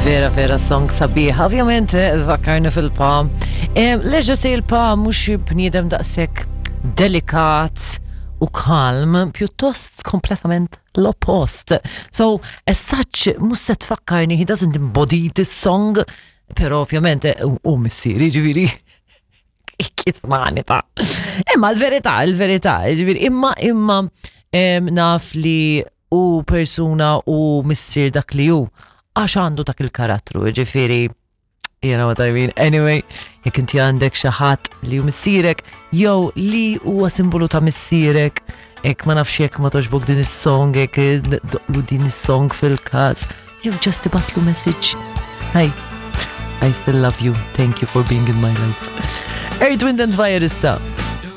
Vera, vera song sabiħ. Ovvjament, eh, tfakkarni fil-pa. Leġa se il-pa mhux bniedem daqshekk delikat u kalm, pjuttost kompletament l-oppost. So, as such, mhux se tfakkarni, he doesn't embody this song, pero ovvjament eh, u missieri, ġifieri kismani ta' Imma l-verità, l-verità, ġifieri, imma imma naf li u persuna u missier dak li hu għax għandu dak il-karattru, ġifieri you know what I mean. Anyway, jekk inti għandek xi ħadd li hu missierek jew li huwa simbolu ta' missierek, jekk ma nafx jekk ma toġbok din is-song, jekk doqlu din is-song fil-każ, jew just ibatlu message. Hi, I still love you. Thank you for being in my life. Earth, Wind and Fire issa.